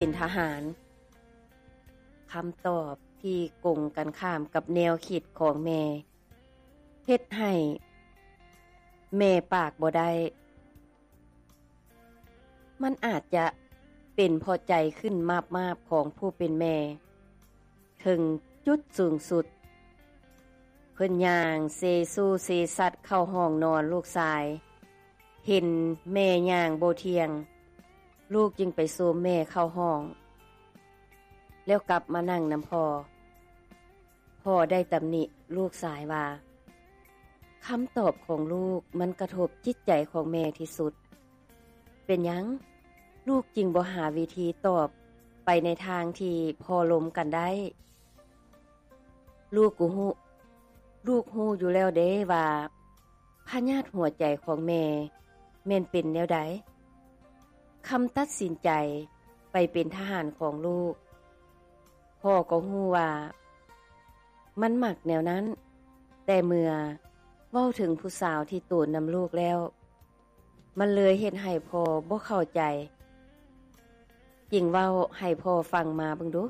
ເປັນທະຫານ. ຄຳຕອບທີ່ກົງກັນຂ້າມກັບແນວຄິດຂອງແມ່ ເຮັດໃຫ້ແມ່ປາກບໍ່ໄດ້. ມັນອາດຈະເປັນເພາະໃຈຂຶ້ນມາບໆຂອງຜູ້ເປັນແມ່ ເຖິງຈຸດສູງສຸດ. ເພິ່ນຍ່າງເຊຊູເຊຊັດເຂົ້າຫ້ອງນອນລູກຊາຍ. ເຫັນແມ່ຍ່າງບໍ່ທ່ຽງ, ລູກຈຶ່ງໄປໂຊມແມ່ເຂົ້າຫ້ອງ ແລ້ວກັບມານັ່ງນຳພໍ່. ພໍ່ໄດ້ຕຳໜິລູກຊາຍວ່າ ຄຳຕອບຂອງລູກມັນກະທົບຈິດໃຈຂອງແມ່ທີ່ສຸດ. ເປັນຫຍັງລູກຈຶ່ງບໍ່ຫາວິທີຕອບໄປໃນທາງທີ່ພໍລົມກັນໄດ້? ລູກກໍຮູ້, ລູກຮູ້ຢູ່ແລ້ວເດ້ວ່າ ພະຍາດຫົວໃຈຂອງແມ່ແມ່ນເປັນແນວໃດ. ຄຳຕັດສິນໃຈໄປເປັນທະຫານຂອງລູກ, ພໍ່ກໍຮູ້ວ່າມັນມັກແນວນັ້ນ, ແຕ່ເມື່ອເວົ້າເຖິງຜູ້ສາວທີ່ໂຕນນຳລູກແລ້ວ, ມັນເລີຍເຮັດໃຫ້ພໍ່ບໍ່ເຂົ້າໃຈ. ຈຶ່ງເວົ້າໃຫ້ພໍ່ຟັງມາເບິ່ງດູ.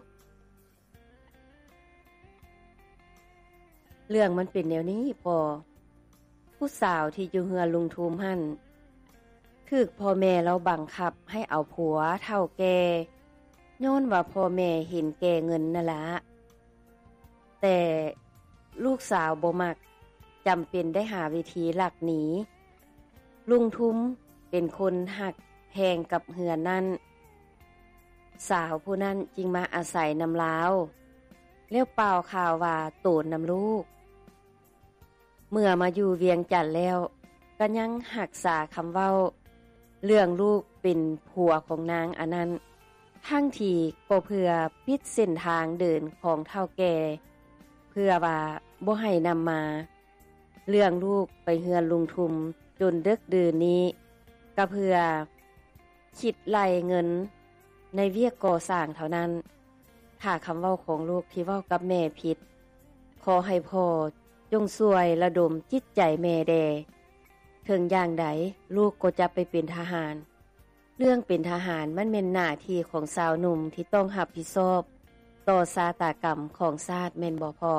ເລື່ອງມັນເປັນແນວນີ້ພໍ່, ຜູ້ສາວທີ່ຢູ່ເຮືອນລຸງທຸມຫັ້ນ ຖືກພໍ່ແມ່ລາວບັງຄັບໃຫ້ເອົາຜົວເຖົ້າແກ່, ຍ້ອນວ່າພໍ່ແມ່ເຫັນແກ່ເງິນນັ້ນລະ. ແຕ່ລູກສາວບໍ່ມັກ, ຈຳເປັນໄດ້ຫາວິທີລັກໜີ. ລຸງທຸມເປັນຄົນຮັກແພງກັບເຮືອນນັ້ນ, ສາວຜູ້ນັ້ນຈຶ່ງມາອາໄສນຳລາວ ແລ້ວປ່າວຂ່າວວ່າໂຕນນຳລູກ. ເມື່ອມາຢູ່ວຽງຈັນແລ້ວ ກໍຍັງຮັກສາຄຳເວົ້າເລື່ອງລູກເປັນຜົວຂອງນາງອັນນັ້ນ, ທັງທີ່ກໍເພື່ອປິດເສັ້ນທາງເດີນຂອງເຖົ້າແກ່ ເພື່ອວ່າບໍ່ໃຫ້ນຳມາ. ເລື່ອງລູກໄປເຮືອນລຸງທຸມຈົນເດິກດື່ນນີ້ ກໍເພື່ອຄິດໄລ່ເງິນໃນວຽກກໍ່ສ້າງເທົ່ານັ້ນ. ຖ້າຄຳເວົ້າຂອງລູກທີ່ເວົ້າກັບແມ່ຜິດ, ຂໍໃຫ້ພໍ່ຈົ່ງຊ່ວຍລະດົມຈິດໃຈແມ່ແດ່. ເຖິງຢ່າງໃດລູກກໍຈະໄປເປັນທະຫານ. ເລື່ອງເປັນທະຫານມັນແມ່ນໜ້າທີ່ຂອງຊາວໜຸ່ມທີ່ຕ້ອງຮັບຜິດຊອບຕໍ່ຊາຕາກຳຂອງຊາດແມ່ນບໍ່ພໍ່?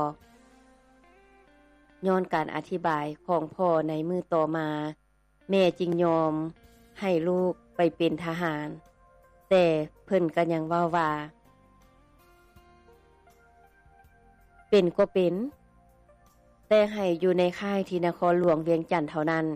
ຍ້ອນການອະທິບາຍຂອງພໍ່ໃນມື້ຕໍ່ມາ, ແມ່ຈຶ່ງຍອມໃຫ້ລູກໄປເປັນທະຫານ, ແຕ່ເພິ່ນກໍຍັງເວົ້າວ່າ ເປັນກໍເປັນ, ແຕ່ໃຫ້ຢູ່ໃນຄ້າຍທີ່ນະຄອນຫຼວງວຽງຈັນເທົ່ານັ້ນ.